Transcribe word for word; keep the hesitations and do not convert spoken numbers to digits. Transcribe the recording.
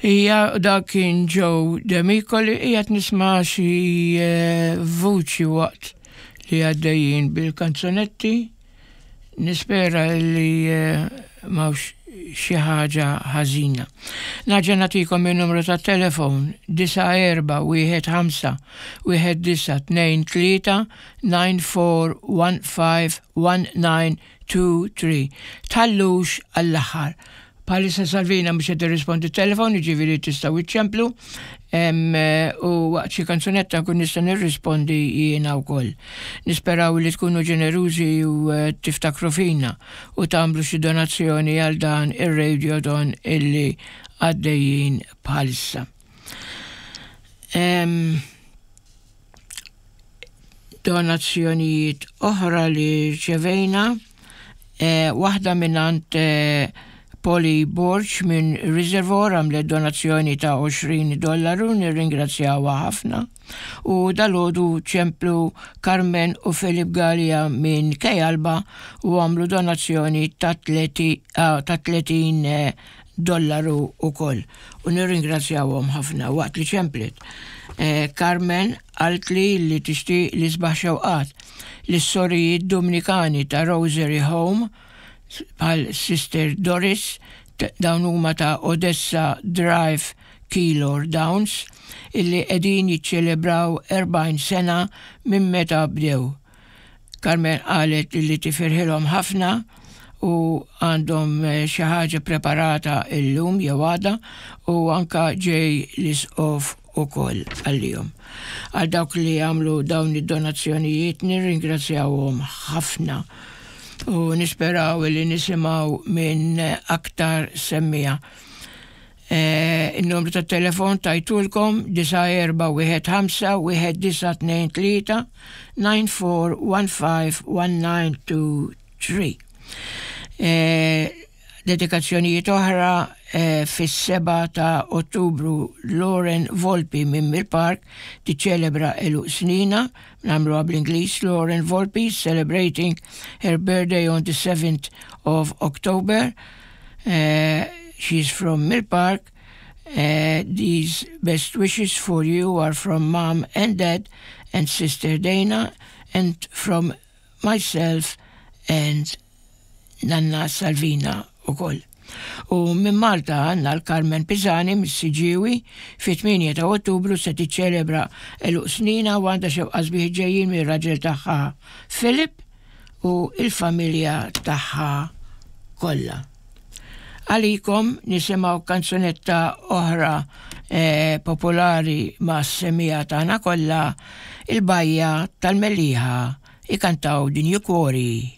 Ija, dak kien Joe Demicoli. Qiegħed nisma' xi eh, vuċi waqt li għaddejjin bil-kanzunetti. Nispera li eh, m'hawnx xi ħaġa ħażina. Nerġa' nagħtikom il-numru ta' telefon disa' erba' wieħed ħamsa wieħed disa' tnejn tlieta, nine four one five one nine two three. Tħallux għall-aħħar. Bħalissa Salvina mhux qed tirrispondi telefon, jiġifieri tistgħu iċċemplu u waqt xi kanzunetta nkun nista' nirrispondi jiena wkoll. Nisperaw li tkunu ġenerużi u eh, tiftakru fina u tagħmlu xi donazzjoni għal dan ir-radiothon illi għaddejjin bħalissa. Em, donazzjonijiet oħra li rċevejna, eh, waħda mingħand eh, Polly Borch minn Reservoir għamlet donazzjoni ta' għoxrin dollaru, nirringrazzjawha ħafna. U dalgħodu ċemplu Carmen u Filip Gallia minn Kejalba u għamlu donazzjoni ta' tletin eh, dollaru u koll. U nirringrazzjawhom ħafna waqt li ċemplet. Eh, Carmen qaltli li tixtieq l-isbaħ xewqat lis-sorijiet Dominikani ta' Rosary Home bħal Sister Doris, dawn huma ta' Odessa Drive, Keilor Downs, illi qegħdin jiċċelebraw erbgħin sena minn meta bdew. Carmen qalet illi tifirħilhom ħafna u għandhom eh, xi ħaġa preparata illum jew għada u anka ġej l-isqof ukoll għalihom. Għal dawk li għamlu dawn id-donazzjonijiet nirringrazzjawhom ħafna u nisperaw li nisimgħu minn aktar semmiegħa. E, Il-numru ta' telefon tajtulkom disa' erba' wieħed ħamsa wieħed disa' tnejn tlieta, nine four one five one nine two three. E, dedikazzjonijiet oħra e, fis-seba ta' Ottubru Lauren Volpi minn Mill Park tiċċelebra għeluq sninha, nagħmluha bl-Ingliż: Lauren Volpi celebrating her birthday on the seventh of October. Uh, she's from Mill Park. Uh, these best wishes for you are from Mom and Dad and Sister Dana and from myself and Nanna Salvina ukoll. U minn Malta għandna l-Carmen Pisani mis-Siġġiewi fit-tmienja ta' Ottubru se tiċċelebra għeluq sninha u għandha xewqa sbieħ ġejjin mir-raġel tagħha Philip u il-familja tagħha kollha. Għalikom nisimgħu kanzunetta oħra eh, popolari ma' semmiegħa tagħna kollha, il-Bajja tal-Mellieħa, ikantaw Din Cuori.